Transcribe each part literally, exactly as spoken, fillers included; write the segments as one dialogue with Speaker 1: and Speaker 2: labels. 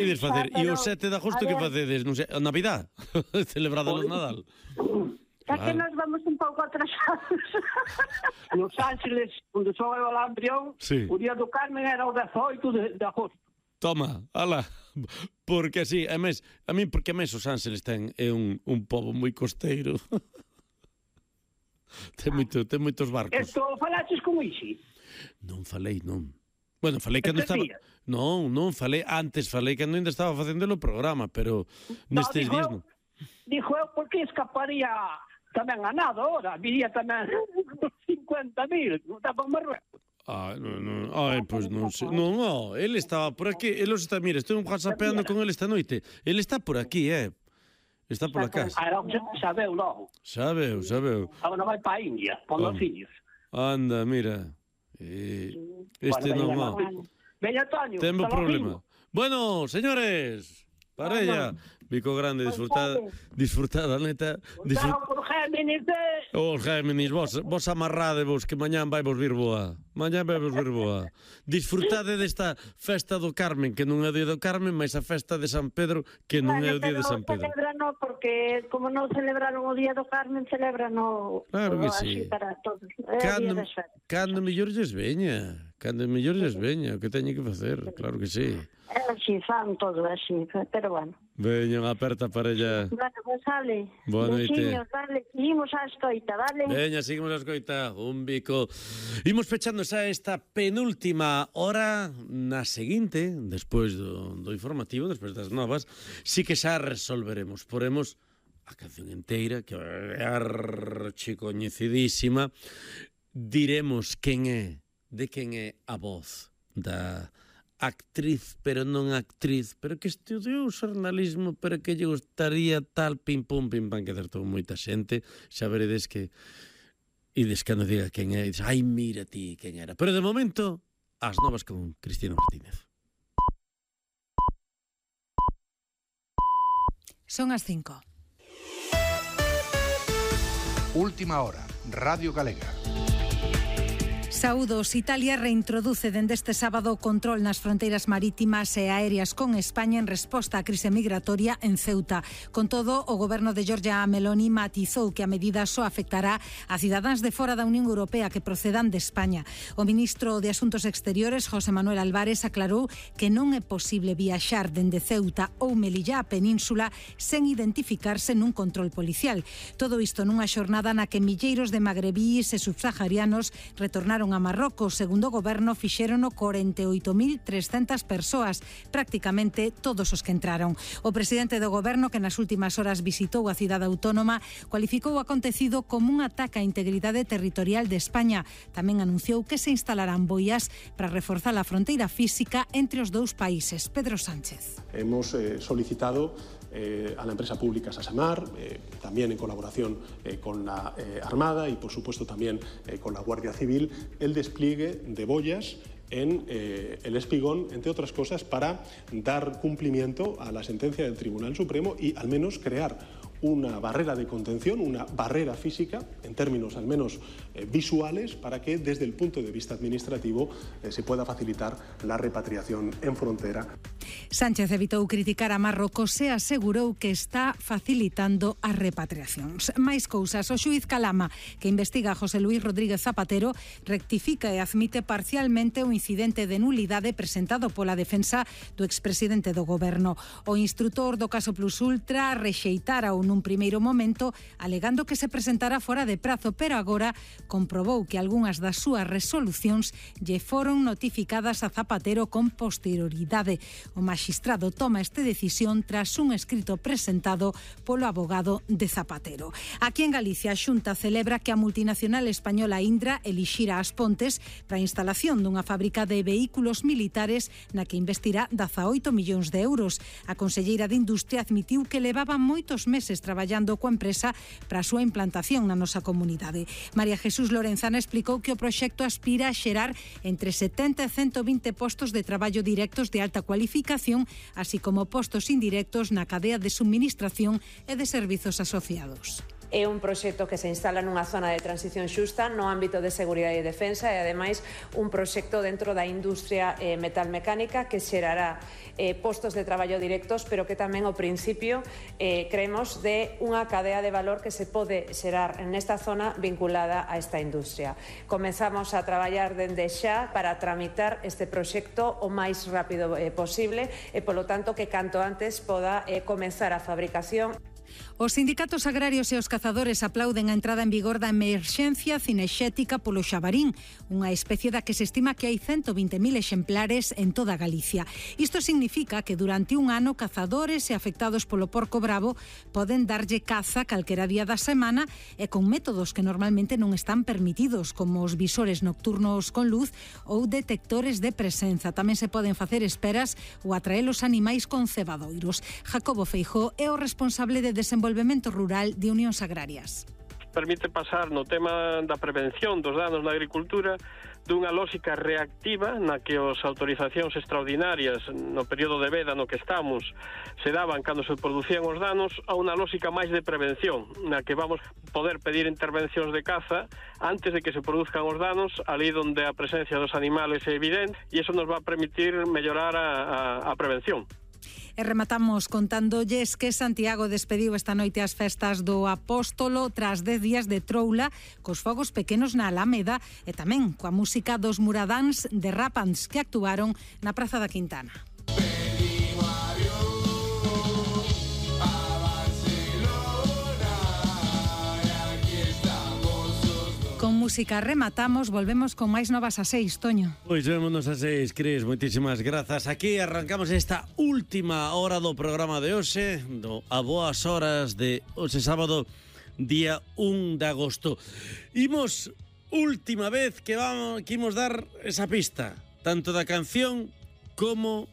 Speaker 1: Ides facer, e o sete de agosto que facedes? Non sei, a Navidad? Celebrada o Nadal?
Speaker 2: É que nos vamos un pouco atrasados.
Speaker 3: Los Ángeles, onde son eu al Ambrión,
Speaker 1: sí.
Speaker 3: O día do Carmen era o dezoito de, de agosto.
Speaker 1: Toma, ala, porque así, a mes, a mí, porque a mes os Ángeles ten é un, un pobo moi costeiro. ten, moito, ten moitos barcos.
Speaker 3: Esto falaches con Ixi?
Speaker 1: Non falei, non. Bueno, falei cando estaba...
Speaker 3: días?
Speaker 1: Non, non, falei antes, falei cando ainda estaba facendo o programa, pero nestes
Speaker 3: no,
Speaker 1: días
Speaker 3: non.
Speaker 1: non.
Speaker 3: Dijo eu, por que escaparía tamén a nada ahora? Viría tamén cincuenta mil, non está por Marruecos.
Speaker 1: Ah, non, non, ai, pois non sei. Non, oh, ele estaba por aquí, ele os está, mira, estou whatsappeando con ele esta noite. Ele está por aquí, eh. Está por a casa.
Speaker 3: Ah, sabeu logo.
Speaker 1: Sabeu, sabeu.
Speaker 3: Agora vai para a India, por os fillos.
Speaker 1: Anda, mira. Eh, este non, oh.
Speaker 3: Veña, Toño.
Speaker 1: Temos problema. Bueno, señores, parella, Vico Grande, disfrutad, disfrutad, neta.
Speaker 3: Disfrutad por Géminis de...
Speaker 1: Os Géminis, vos, vos amarrade vos, que mañán vai vos vir boa. Mañán vai vos vir boa. Disfrutade desta festa do Carmen, que non é o día do Carmen, mas a festa de San Pedro, que non é o día de San Pedro.
Speaker 2: Celebran, porque como non celebraron o día do Carmen, celebran o...
Speaker 1: Claro que sí.
Speaker 2: Para todos.
Speaker 1: Cando, cando mellor lles veña. Cando mellor lles veña, o que teñen que facer, claro que sí.
Speaker 2: É así, fan todo así, pero bueno.
Speaker 1: Veña, unha aperta parella.
Speaker 2: Bueno, pues sale.
Speaker 1: Boa noite.
Speaker 2: Besiños, dale, seguimos a escoita, vale?
Speaker 1: Veña, seguimos a escoita, un bico. Imos pechando xa esta penúltima hora, na seguinte, despois do, do informativo, despois das novas, sí que xa resolveremos, poremos a canción enteira, que é archicoñecidísima, diremos quen é, de quen é a voz da actriz, pero non actriz, pero que estudiou xornalismo, pero que lle gustaría tal pim pum pim pam, que acertou moita xente, xa veredes que ides cando diga quen é, dices, ai, mira ti quen era. Pero de momento, as novas con Cristina Martínez.
Speaker 4: Son as cinco.
Speaker 5: Última hora, Radio Galega.
Speaker 4: Saúdos. Italia reintroduce dende este sábado o control nas fronteiras marítimas e aéreas con España en resposta á crise migratoria en Ceuta. Con todo, o goberno de Giorgia Meloni matizou que a medida só afectará a cidadáns de fora da Unión Europea que procedan de España. O ministro de Asuntos Exteriores, José Manuel Álvarez, aclarou que non é posible viaxar dende Ceuta ou Melilla á península sen identificarse nun control policial. Todo isto nunha xornada na que milleiros de magrebíes e subsaharianos retornaron a Marrocos. Segundo o goberno, fixérono corenta e oito mil trescentas persoas, prácticamente todos os que entraron. O presidente do goberno, que nas últimas horas visitou a cidade autónoma, cualificou o acontecido como un ataque á integridade territorial de España. Tamén anunciou que se instalarán boias para reforzar a fronteira física entre os dous países. Pedro Sánchez.
Speaker 6: Hemos eh, solicitado Eh, a la empresa pública Sasamar, eh, también en colaboración eh, con la eh, Armada y por supuesto también eh, con la Guardia Civil, el despliegue de boyas en eh, el Espigón, entre otras cosas, para dar cumplimiento a la sentencia del Tribunal Supremo y al menos crear una barrera de contención, una barrera física, en términos al menos eh, visuales, para que desde el punto de vista administrativo eh, se pueda facilitar la repatriación en frontera.
Speaker 4: Sánchez evitou criticar a Marrocos e asegurou que está facilitando as repatriacións. Mais cousas, o xuíz Calama, que investiga a José Luís Rodríguez Zapatero, rectifica e admite parcialmente o incidente de nulidade presentado pola defensa do expresidente do goberno. O instrutor do caso Plus Ultra rexeitara o nun primeiro momento, alegando que se presentara fora de prazo, pero agora comprobou que algunhas das súas resolucións lle foron notificadas a Zapatero con posterioridade. O magistrado toma esta decisión tras un escrito presentado polo abogado de Zapatero. Aquí en Galicia, a Xunta celebra que a multinacional española Indra elixira As Pontes para a instalación dunha fábrica de vehículos militares na que investirá dezaoito millóns de euros. A conselleira de Industria admitiu que levaba moitos meses traballando coa empresa para a súa implantación na nosa comunidade. María Jesús Lorenzana explicou que o proxecto aspira a xerar entre setenta e ciento vinte postos de traballo directos de alta cualificación, así como postos indirectos na cadea de suministración e de servizos asociados.
Speaker 7: é un proxecto que se instala nunha zona de transición xusta no ámbito de seguridade e defensa e ademais un proxecto dentro da industria eh, metalmecánica que xerará eh, postos de traballo directos, pero que tamén ao principio eh, creemos de unha cadea de valor que se pode xerar nesta zona vinculada a esta industria. Comezamos a traballar dende xa para tramitar este proxecto o máis rápido eh, posible e, polo tanto, que canto antes poda eh, comenzar a fabricación.
Speaker 4: Os sindicatos agrarios e os cazadores aplauden a entrada en vigor da emerxencia cinexética polo xabarín, unha especie da que se estima que hai ciento vinte mil exemplares en toda Galicia. Isto significa que durante un ano cazadores e afectados polo porco bravo poden darlle caza calquera día da semana e con métodos que normalmente non están permitidos, como os visores nocturnos con luz ou detectores de presenza. Tamén se poden facer esperas ou atraer os animais con cebadoiros. Jacobo Feijóo é o responsable de Desenvolvemento Rural de Unións Agrarias.
Speaker 8: Permite pasar no tema da prevención dos danos na agricultura dunha lógica reactiva na que as autorizacións extraordinarias no período de veda no que estamos se daban cando se producían os danos a unha lógica máis de prevención na que vamos poder pedir intervencións de caza antes de que se produzcan os danos ali onde a presencia dos animales é evidente e iso nos va a permitir mellorar a, a, a prevención.
Speaker 4: E rematamos contándolles que Santiago despediu esta noite as festas do Apóstolo tras dez días de troula cos fogos pequenos na Alameda e tamén coa música dos Muradáns de Rapans que actuaron na Praza da Quintana. Con música rematamos, volvemos con máis novas a seis, Toño.
Speaker 1: Pois vémonos a seis, Cris, moitísimas grazas. Aquí arrancamos esta última hora do programa de hoxe, do a boas horas de hoxe sábado, día un de agosto. Imos, última vez que vamos que imos dar esa pista, tanto da canción como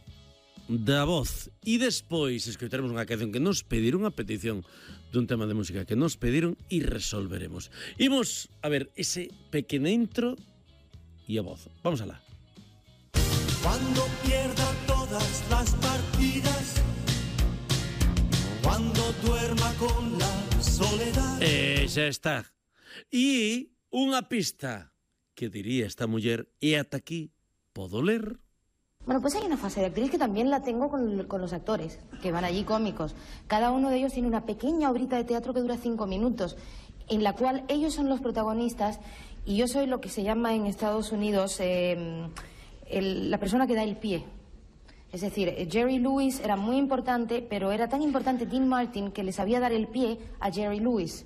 Speaker 1: da voz. E despois escoitaremos unha canción que nos pediron, a petición dun tema de música que nos pediron e resolveremos. Imos a ver ese pequeno intro e a voz. Vamos alá.
Speaker 9: Cuando pierda todas las partidas, cuando duerma con la soledad.
Speaker 1: E xa está. E unha pista que diría esta muller e ata aquí podo ler.
Speaker 10: Bueno, pues hay una fase de actriz que también la tengo con, con los actores, que van allí cómicos. Cada uno de ellos tiene una pequeña obrita de teatro que dura cinco minutos, en la cual ellos son los protagonistas y yo soy lo que se llama en Estados Unidos eh, el, la persona que da el pie. Es decir, Jerry Lewis era muy importante, pero era tan importante Dean Martin que le sabía dar el pie a Jerry Lewis.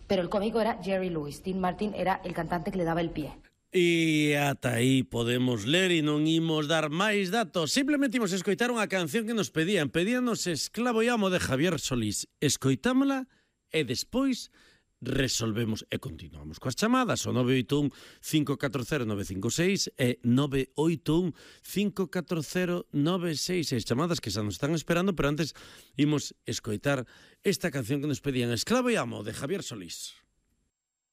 Speaker 10: Pero el cómico era Jerry Lewis. Dean Martin era el cantante que le daba el pie.
Speaker 1: E ata aí podemos ler e non imos dar máis datos. Simplemente imos escoitar unha canción que nos pedían. Pedíanos Esclavo e Amo de Javier Solís. Escoitámola e despois resolvemos e continuamos coas chamadas. O nove oito un, cinco catro cero, nove cinco seis e nove oito un, cinco catro cero, nove seis seis. Chamadas que xa nos están esperando, pero antes imos escoitar esta canción que nos pedían. Esclavo e Amo de Javier Solís.